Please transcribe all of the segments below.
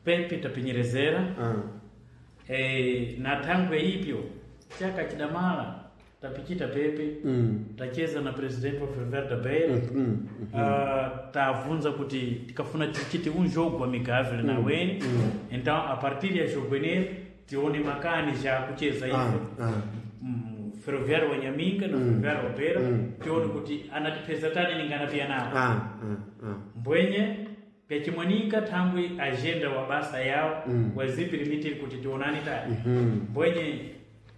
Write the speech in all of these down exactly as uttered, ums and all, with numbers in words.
Pepe tapenyerezera Ah. eh, na thangwe ipyo chaka chidamala tapichita pepe Mm. tacheza na presidente wa Ferroviário da Beira. Mm. Uh, tavunza kuti tikafuna tichite um jogo amigável na weni. Então a partir ya jogo eneri tione makani já kucheza Ah, ife ah. mm, Ferroviário wa Nhaminga na Ferroviário wa Beira, tione kuti anatipeza tani ninganapia nawo. Ah, ah, ah. Mbwenye pyachimwanika thangwi agenda wa basa yawo mm. wazipirimiti kuti tionani tani. Mm. Mbwenye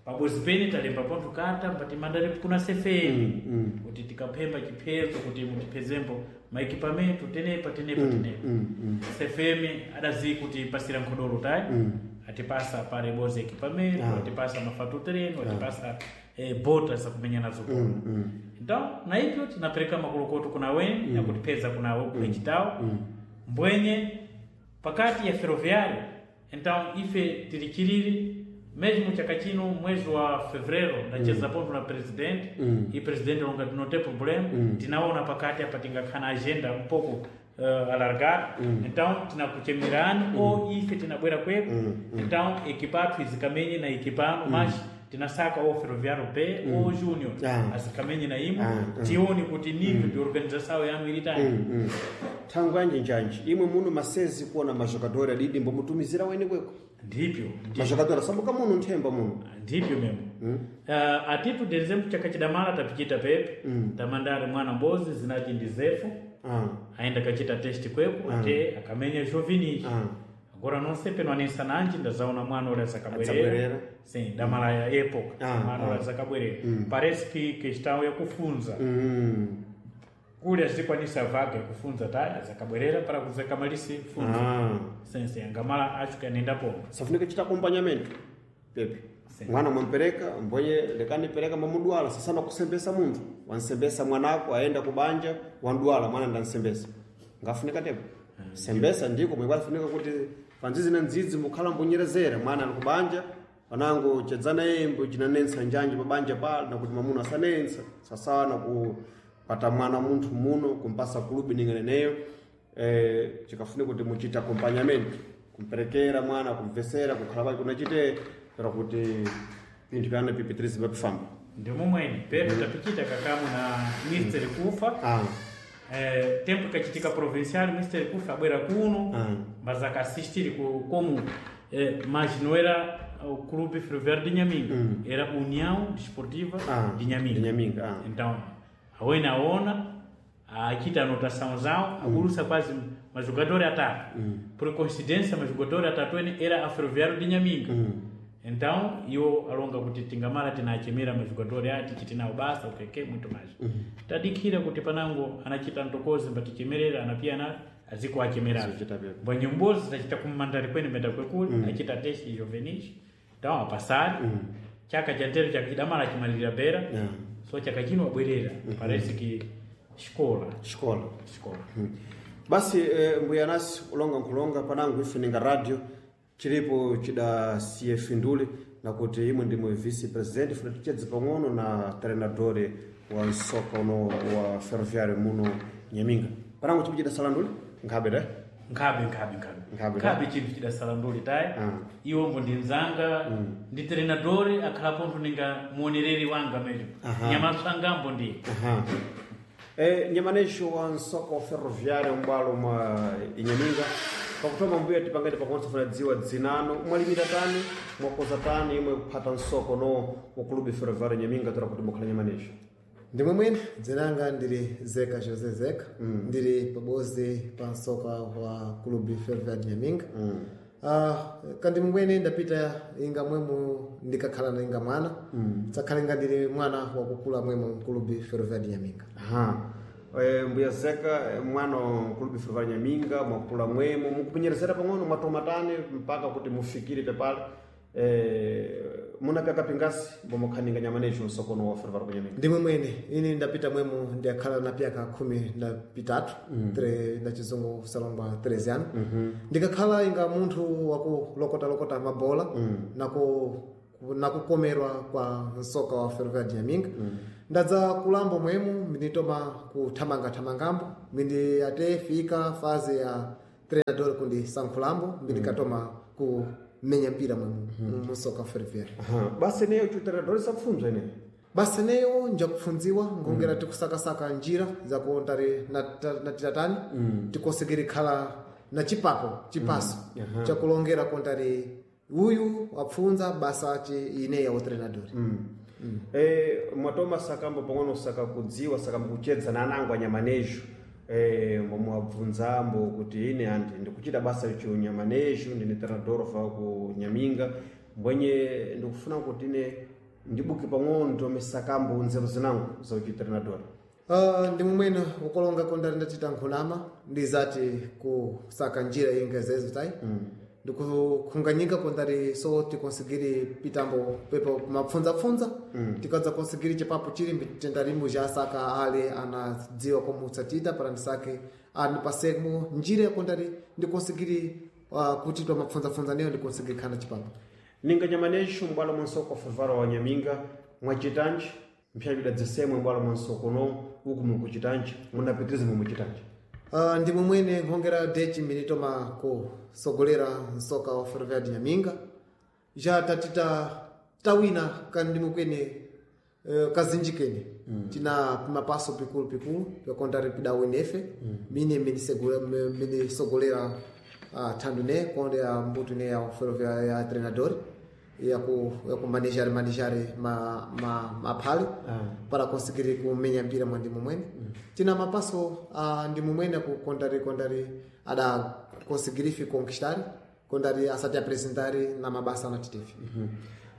pabozi pene talemba pontho kata mpati mandali kuna sefeni Mm. kuti tikaphemba chiphezo kuti mutiphezembo maekipamento tenepa tenepa tenepa. Mm. Mm. Sefemi adazi kuti pasira nkhodolo tayi Mm. atipasa pare bozi ekipamento, Ah. atipasa mafato tereno, atipasa eh, bota zakumenya nazo bola. Mm. Mm. Então na ipyo tinapereka makolokoto kuna weni mm. yakutipeza kuna kuchitawo Mm. mbwenye pakati ya ferroviário. Então ife tilichiriri mesmo chaka chino mwezi wa fevereiro ndacheza mm. ponto na presidente. Mm. E presidente longa tinote problema. Mm. Tinaona pakati apa tingakhana agenda um pouco uh, alargada. Mm. Então tinakuchemerani mm. ou ife tinabwera kwepo. Mm. Então equipa izikamenye na equipano, mas tinasaka ou Ferroviário B ou Júnior Ah. azikamenye na imo. Ah, ah. Tione kuti nível de organização yanu ili tani. Mm, mm. Thangwe yanji njanji imwe muno masezi kuona majogadori adidi mbomutumizira weni kweko? Ndipyo, ndipyo. Majogadori asambuka muno nthemba muno. Ndipyo memo. Mm. uh, atitu de exemplo chaka chidamala tapichita pepe Mm. tamandari mwana mbozi zinachi ndi zefu Ah. aenda kachita test kweko Ah. ate akamenya jovinis. Ah. Agora não sei peno aninsananji ndazaona mwana ule azakabwerera. Adzabwerera. Sim, damala ya época Ah, mwana ule ah. azakabwerera. Mm. Parece que questão ya kufunza Mm. kule azikwanisa vaga kufunza ta azakabwerera para kuzakamalisi funza. Ah. Sim, sim, angamala acho que anenda ponto. Safunika chita acompanhamento pepe. Sim. Mwana mwampereka mbonye lekani pereka mamudwala sasana kusembesa munthu wansembesa mwanako aenda kubanja wandwala mwana ndansembesa ngafunika tepo sembesa ndiko mwekwafunika kuti panzizi na nzizi mukhala mbonyerezera mwana ali kubanja panango chedzana yembo chinanensa njanji pabanja pala nakuti mamuna asanensa sasawa na kupata mwana munthu muno kumpasa kulubi ninganeneyo eh, chikafunika kuti muchita acompanhamento kumperekera mwana kumvesera kukhala kwake kunachite pero kuti pinthu pyana pipitirizi papifamba. Ndimo mwene pepe tapichita kakamu na Mister Kufa. Ah. Eh, tempo ikachitika provincial Mister Kufa abwera kuno Ah. mas akasistiri ku, como eh, mas não era o Clube Ferroviário de Nhaminga, Mm. era União Desportiva Ah, de Nhaminga. de Nhaminga, ah. Então awene aona achita anotação zao agulusa quase majogador atatu. Mm. Por coincidência majogador atatu ene era a Ferroviário de Nhaminga. Mm. Então iwo alonga kuti tingamala tinachemera majogador ati chitinawo basa ukeke muito mais. Tadikhira kuti panango anachita ntokozi mbatichemerera anapia na aziko achemerera. Azichita pepo. Mbwenye mbozi tachita kumandari kwene menda kwekuli Mm. achita testi jovenis então apasari. Mm. Chaka cha ntero chaka chidamala chimalira bera. Yeah. So chaka chino abwerera parece que escola. Xikola. Escola. Mm. Basi eh, mbuya nasi ulonga nkulonga panango ife ninga radio chilipo chida C F ndule nakuti imwe ndimwe vice president funa tichedze pang'ono na treinador wa nsoka uno wa Ferroviário muno Nhaminga panango chipo chidasala ndule nkhabe te. Nkhabe, nkhabe, nkhabe. Nkhabe, nkhabe chinthu chidasala nduli tayi. Ah. Iwombo ndi nzanga ndi treinador akhala pontho ninga muonereri wanga mesmo. Aha. Nyamaswangambo ndi Aha. E, nyamanesho wa nsoka wa Ferroviário mbwalo mwa Inhaminga pakutoma mbuya tipangati pakonse funa dziwa dzinano mwalimira tani mwakoza tani imwe kuphata nsoko no wa Clube Ferroviário Nhaminga tora kuti mukhala nyamanesho. Ndimwe mwene dzinanga ndiri Zeka José Zeka. Ndiri pabozi pa nsoka wa Clube Ferroviário Nhaminga. Mm. Ah, kandi mwene ndapita inga mwemu ndikakhala na inga mwana mm. Tsakhala inga ndiri mwana wakukula mwemu Clube Ferroviário Nhaminga. Aha. E, mbuya Zeka eh, mwana wa Clube Ferroviário Nhaminga mwakula mwemo mukupenyerezera pang'ono mwatoma tani mpaka kuti mufikire pepale e, munapyaka pingasi mbomukhaninga nyamanesho nsokono wa Ferroviário Nhaminga? Ndimwe mwene ini ndapita mwemu ndiyakhala na pyaka khumi na pitatu mm. tre na chizungu kusalongwa treze ano mm -hmm. Ndikakhala inga munthu wakulokotalokota mabola mm. naku nakukomerwa kwa msoka wa Ferroviário de Nhaminga mm. Ndadza kulambo mwemu ndinitoma kuthamangathamangambo mindi ate fika faze ya treinador kundi sankhulambo mbindikatoma kumenya mpira mwemu musoka ferroviário. Aha. Basi neyo chutrenador sapfunzwa ineyo. Basi neyo njakupfunziwa ngongera tikusakasaka njira zakuondari natitatani mm. tikosekeri khala na chipapo chipaso mm. chakulongera kontari uyu wapfunza basa chi ine ya utrenador mm. mm. E, mwatoma sakambo pang'ono saka kudziwa sakambo kuchedza na anangu anyamanejo e, mwabvunzambo kuti ine andi ndikuchita basa icho nyamanejo ndine treinador fa ku Nyaminga mbwenye ndikufuna kuti ine ndibuke pang'ono nditome sakambo nzeru zinangu za uchitrenador. Uh, ndi mumwene ukolonga kondari ndachita nkhulama ndizati kusaka njira inga zezo tai mm. ndikukhunganyika kondari so tikonsigiri pitambo pepo mapfundzapfundza mm. tikadza konsigiri chipapo chili mitendarimbo jasaka ale anadziwa komutsatita para ndisake anipasemo njira yakondari ndikonsigiri uh, kuti twamapfundzapfundza neyo ndikonsigiri khana chipapo. Ninga nyamanejo mbwalo mwansoko fevaro wa Nyaminga mwachitanji mphyapida dzisemwe mbwalo mwansoko no uku mukuchitanji munapitiriza mumuchitanji. Uh, ndi mumwene nkhongera dechi minitoma kusogolera msoka wa Ferroviário de Nyaminga ja tatita tawina kandi mukwene uh, kazinji kene mm. tina pimapaso pikulu pikulu pyakontari pidawinefe mm. mine minisogolera uh, thandu ne konde ya mbutu ne ya Ferroviário ya treinador yaku yakumanejare manejare ma ma maphale Ah. para conseguir kumenya mpira mwa ndimu mwene mm. tina mapaso uh, ndimu mwene kukondari kondari ada conseguir fi conquistar kondari asati apresentare na mabasa na titefi mm -hmm.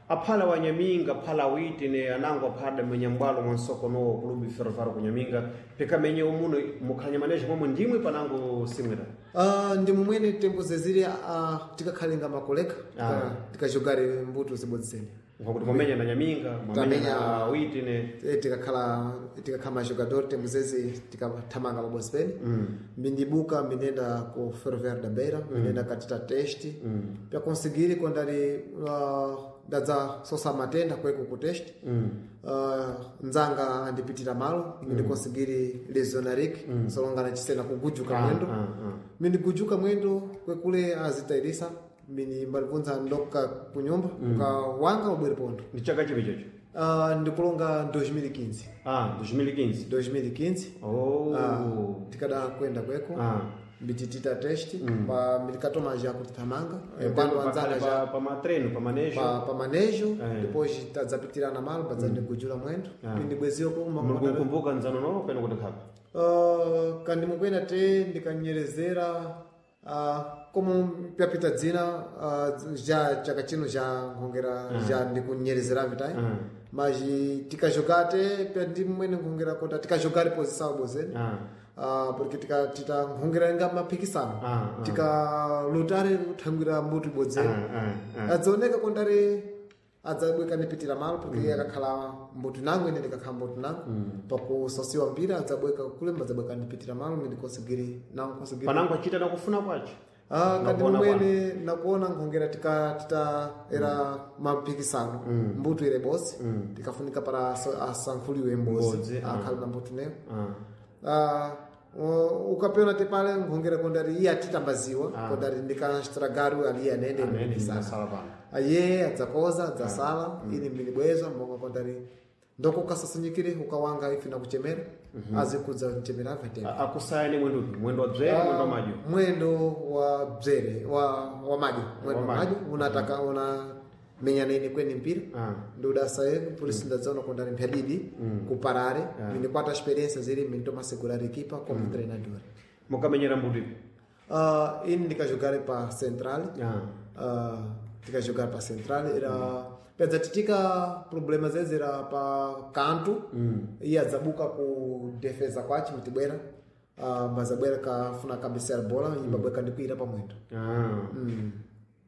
Aphala wa Nyaminga aphala witi ne anangu aphala menya mbwalo mwansoko no kulubi Ferroviário ku Nyaminga pikamenye umuno mukhanya manejo momwe ndimwe panangu simwera. Uh, ndimu mwene tembo zeziri uh, tikakhalenga makoleka Ah. tikajogare mbuto zibodzisene Nkakuti mwamenya na Nyaminga mwamenya Tamenya- na witi ne Eh, tikakhala tikakhala majogador tembo zezi tikathamanga pabodzi pene mm. mbindibuka mbinenda ku Ferroviário da Beira mm. mbinenda katita teste mm. pyakonsigiri kondari uh, ndadza sosa matenda kweko ku teste mm. uh, nzanga andipitira malo mm. mbindikonsigiri lesionarik mm. solongana chisena kugujuka Ah, mwendo ah, ah. mbindigujuka mwendo kwekule azitairisa mbini mbalibvunza ndoka kunyumba mm. ukawanga ubwere pondo. Ndi chaka chipi chocho? Uh, ndikulonga dois mil e quinze. Ah, dois mil e quinze. dois mil e quinze. Oh. Ah, tikada kwenda kweko Ah. mbititita teste mm. pa milikatoma já kutithamanga quando anzanga pa, já pa matreno pa manejo pa, pa manejo Eh. depois tadzapitirana malo padzandigujula mwendo Ah. mbindibweziyo kuma mulikukumbuka nzano no peno kuti khapa. Uh, kandimukwena te ndikanyerezera uh, como pyapita dzina uh, já chaka chino já nkhongera mm. já ndikunyerezera vitai Mm. mas tikajogate pyandimwene nkhongera kota tikajogare posição bozene Ah. uh, porque tika tita nkhongera inga maphikisano Ah, ah. tikalutare kuthangwira mbuti bodzene Ah, ah, ah. adzioneka kondari adzabweka ndipitira malo porque mm. akakhala mbuti nangu ine ndikakhala mbuti nangu mm. pakusosiwa mpira adzabweka kulemba adzabweka ndipitira malo ndikosigiri nangu kosigiri Panangu achita nakufuna kwacho. ah kandi Nakuona mumwene nakuona nkhongera tika tita era maphikisano mm. mbuto ire bosi mm. tikafunika para aso- asankhuliwe mbozi Mbodzi, ah. akhale na mbuto neyo Ah. Ah, u- ukapiona tipale nkhongera kondari iye atitambaziwa Ah. kondari ndikastragaru ali anende Anene ndisala ndasala pano. aye adzakoza adzasala ine mbinibwezwa mbonga kondari ndokukasasanyikire ukawanga ife nakuchemera azikudza mchemera vatena A- Akusaya ni mwendo upi? Mwendo wa bzere, mwendo wa madyo. mwendo wa bzere wa wa madyo mwendo wa Wa madyo. madyo unataka una menya nene kweni mpira Ah. ndodasaye por isso ndadzaona kondari mphyadidi kuparare mindikwata experiência ziri mintomasegurar equipa como treinador. Mukamenyera mbuto ipi? Uh, ini ndikajogare pa central Ah. uh, tikajogar pa central era pedza titika problema zeze era pa kanto mm. iye adzabuka ku defesa kwachi mtibwera uh, mbazabwera kafuna kabisera bola imbabweka ndikuira pamwendo Ah.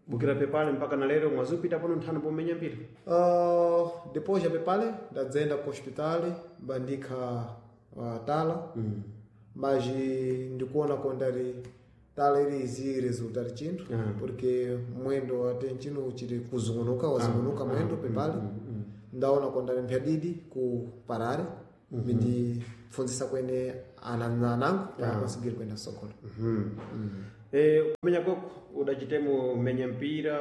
Bukira pepale mpaka na lero mwazupita pano nthano pomenya mpira. uh, depois já pepale ndadzaenda ku hospital mbandikha uh, tala mm. mas ndikuona kondari tala iri izi resultar chinthu Ah. porque mwendo ate nchino chiri kuzungunuka wazungunuka mwendo pepale ndaona kondari mphyadidi ku parare mindipfundzisa kwene ana anangu para conseguir kwenda sokolo. Mhm. Eh, kumenya kwako udachitemo menya mpira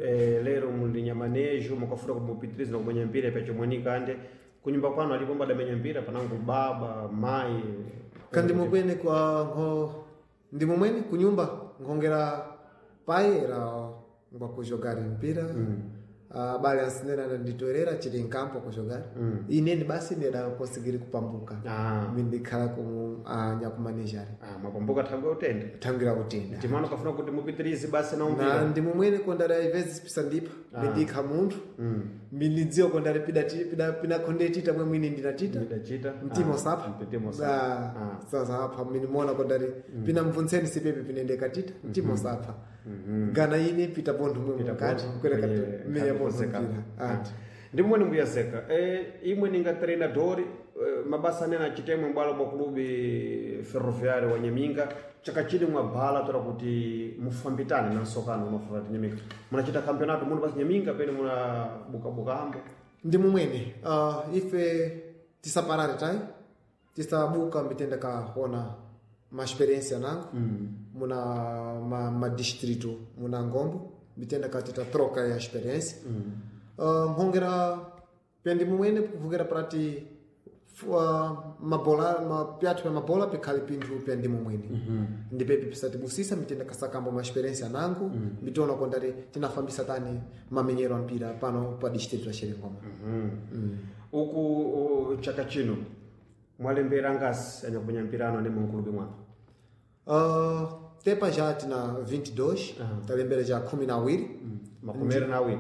eh, lero muli nyamanejo mukafura kumupitiriza na kumenya mpira pachomwanika ande kunyumba kwanu alipo mbada mpira panangu baba mai kandi mukwene kwa nho ndimo mwene kunyumba nkhongera pai era ngwa kujogari mpira mm. Uh, bale ansinena nditoerera chili nkampo kujogari mm. ineni basi ndida konsigiri kupambuka Ah. mindikhala kumu uh, nyakumanejari ah, mapambuka thangwe utende thangira kutenda timano kafuna kuti mupitirize basi na na umpira ndimo mwene kondari aivezi pisandipa mindikha munthu mm. mindidziwa kondari pida pida pinakhonde tita mwe mwini ndinatita ndidachita mtima usapha mtima usapha Ah, sasa apha minimona kondari pina mvuntseni sipepe pinendeka tita mtima usapha gana ine pita pontho mwe mukati kwereka menya pontho mpira ati ndimwene mbuyazeka e, imwe ninga treinador eh, mabasa anene achitemwe mbwalo mwa kulubi ferroviário wa nyaminga chaka chili mwabhala tora kuti mufambitane na nsokano unofuna ti nyaminga munachita campeonato muno basi nyaminga pene muna bukabuka ambo ndi mumwene uh, ife tisaparare tai tisabuka mitenda kaona maexperiência nango mm. muna ma, ma distrito muna ngombo mitenda ka tita troca ya experiência mm. uh, nhongera pya mumwene kuhongera prati uh, mabola ma, pyathu pya mabola pikhali pinthu pya ndi mumwene mm -hmm. ndipepi pisatibusisa mitenda kasakamba ma experiência nango mm. mitiona kondari tinafambisa tani mamenyero a mpira pano pa distrito ya Xerengoma mm. mm. uku u, chaka chino mwalembera ngasi anyakumenya mpira ano ane munkulubi mwanu Uh, tepa já tina vinte e dois uh-huh. Talembera já kumi na awiri mm. Makumi na awiri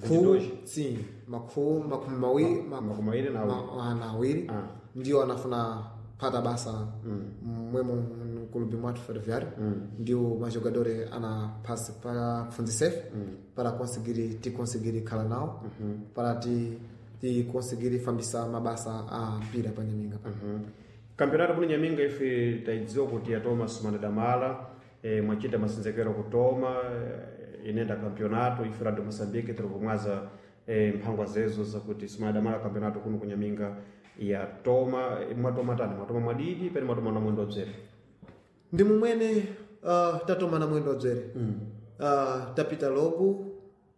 Ku, sim, maku, makumi mawiri makumi mawiri na awiri ma, na awiri Ah. ndio anafuna pata basa mwemo mkulubi mwathu ferroviário mm. ndio majogadores ana passa para fundicef mm. para conseguir te conseguir khala nao mm -hmm. para te te conseguir fambisa mabasa a mpira pa nyaminga pa mm Campeonato muno nyaminga ife taidziwa kuti yatoma sumana damala e, mwachita masenzekero kutoma e, inenda campeonato ife radio Moçambique tiri kumwaza e, mphangwa zezo zakuti sumana damala campeonato kuno kunyaminga yatoma. E, mwatoma tani mwatoma mwadidi pene mwatoma na mwendo bzere ndi mumwene uh, tatoma na mwendo bzere mm. uh, tapita logo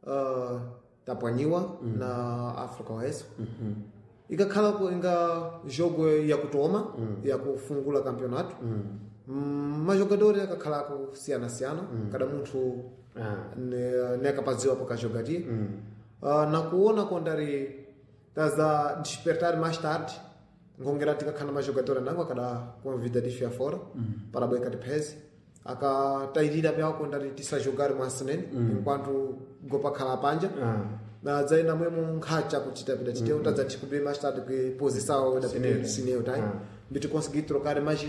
uh, tapwanyiwa mm. na Africa Oeste mm -hmm. Ikakhala ku inga jogo yakutoma mm. yakufungula campeonato mm. Mm, majogadores akakhala kusiyana-siyana mm. Kada munthu ah. ne, nekapadziwa pakajogaria mm. uh, nakuona kondari taza despertar mais tarde ngongera tikakhala na majogadores nango akada convida de fora mm. para boica de pese akatayirira pyawo kondari tisajogare mwasinene mm. enquanto gopakhala panja Ah. na dzaina mwemo nkhacha kuchita pita chiteu mm. tadza tikubire mais tarde que posição da Sineu. sineu tá Ah. mbiti consegui trocar mais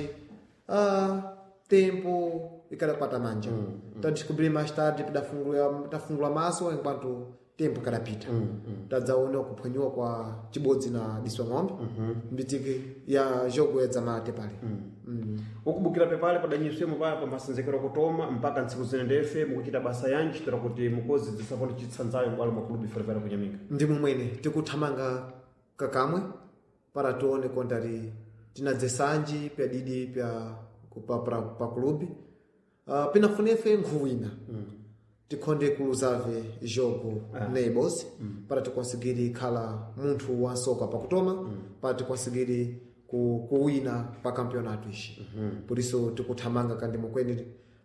ah, tempo ikada pata manja mm, mm. Tadescobri mais tarde tafungula tafungula maso enquanto tempo kadapita mm, mm. Tadzaona kuphwanyiwa kwa chibodzi na diswa ng'ombe mm -hmm. Mbitiki ya jogo ya dzamate pale mm. Mm. Ukubukira pepale padanyiswemo paya pa masenzekero kutoma mpaka ntsiku zine ndefe mukuchita basa yanji tora kuti mukozi zisaponi chitsanzayo mbwalo mwa kulubi ferroviário kunyaminga ndi mumwene tikuthamanga kakamwe para tione kontari tinadzesanji pyadidi pya pa, pa, pa clube uh, pinafunefe nkhuwina mm. Tikhonde kuluzave jogo ah. Neighbors mm. Para tikonsigiri khala munthu wansoka pakutoma mm. Para tikonsigiri ku, kuwina pa campeonato ishi mm -hmm. Por isso tikuthamanga kandi mukweni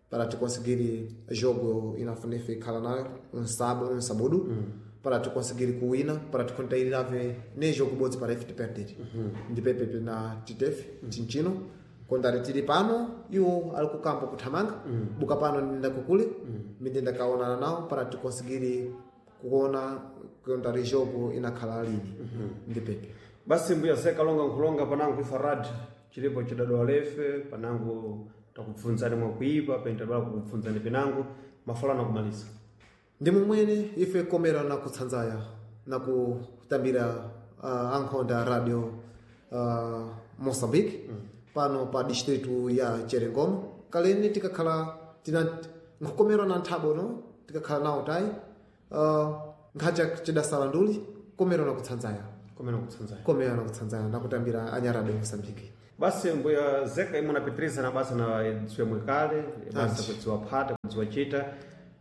para tikonsigiri jogo inafunefe khala nayo um sábado um sábado mm. Para tikonsigiri kuwina para tikontairave ne jogo bodzi para ife tiperder mm -hmm. Ndipepepe na titefe mm. Tinchino kondari tili pano iwo ali kukampo kuthamanga mm. Buka pano ndinda kukule mm. Mindinda kaonana nawo para tikonsigiri kuona kondari jogo inakhala lini mm -hmm. Ndipepe basi mbuya sekalonga nkhulonga panangu ifarad chilipo chidadwa lefe panangu takubvunzani mwakuipa pene tadwala kukubvunzani pinangu mafalano kumaliza ndi mumwene ife komera na kutsanzaya na kutambira uh, ankhonda radio uh, Moçambique mm. Pano pa distrito ya Cherengoma kaleni tikakhala tina nkhukomera na nthabo no tikakhala nawo tayi uh, nkhacha chidasala nduli komera na kutsanzaya komera kutsanzaya komera na kutsanzaya na kutambira anya radio Moçambique. Basi mbuya zeka imwe napitiriza na basa na dziwe mwekale basa kudziwa phata kudziwa chita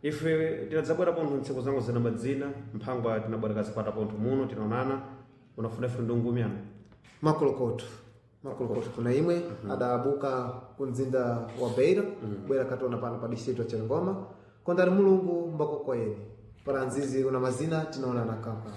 ife tinadzabwera pontho ntsiku zangu zina madzina mphangwa tinabwera kazipata pontho muno tinaonana unafuna ife ndungumyana Makolokoto makolokoto kuna imwe adabuka ku mzinda wa Beira bwera kationa pano pa distrito ya Chilingoma kondari mulungu mbakokoyeni para nzizi una mazina tinaonana kapa.